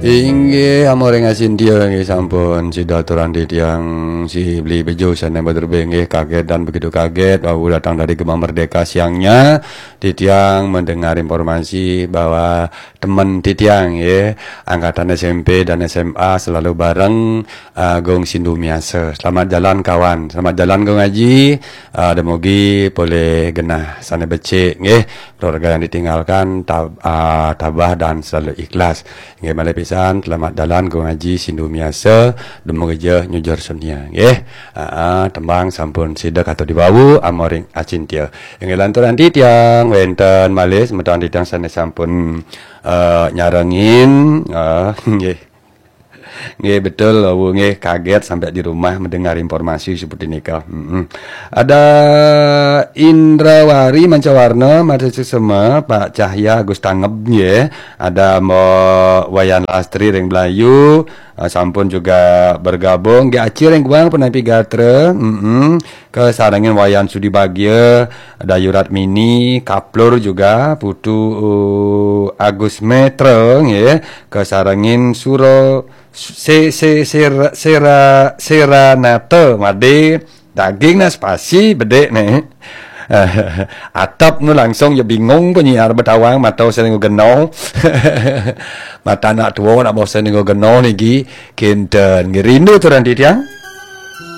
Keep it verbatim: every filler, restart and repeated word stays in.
Inggih, amoring Acintya, inggih sampun sida aturang titiang si Beli Bejo sané madurbé, inggih kaget dan begitu kaget wau datang dari Gema Merdeka siangnya. Titiang mendengar informasi bahwa teman titiang, ya, angkatan S M P dan S M A selalu bareng, uh, Gung Sindu Miasa. Selamat jalan, kawan. Selamat jalan, Gung Aji. Uh, demogi polih genah sané becik, nggih. Keluarga yang ditinggalkan tab-, uh, tabah dan selalu ikhlas. Inggih malih pisan, selamat jalan Gung Aji Sindu Miasa, demogi ja nyujur sunia, nggih. Aa, tembang sampun sida katur diwau, amoring Acintya. Inggih lanturang titiang wénten malih semeton titiang sané sampun, eh, nyarengin, eh, nggih. Nggih betul, wau nggih kaget sampai di rumah mendengar informasi seperti nika. Mm-mm. Ada Indrawari Mancawarna, Marta Suksema, Pak Cahya Agus Tangeb, nggih. Ada Mbok Wayan Lastri ring Blayu, eh, sampun juga bergabung. Nggih Aci ring Guang, Penampi Gatra, mm-mm. Kasarengin Wayan Sudi Bagia, Dayu Ratmini, Kaplur juga, Putu, eh, Agus Metra, nggih. Kasarengin Suro, Se-, Se-, Sera-, Sera-, Seranata, Made, daging nah spasi, bedik nih. Atap nu langsung ya bingung penyiar Betawang, mata sering geno. Mata anak tua nak bawa sering geno niki, kinten, nggih rindu aturang titiang.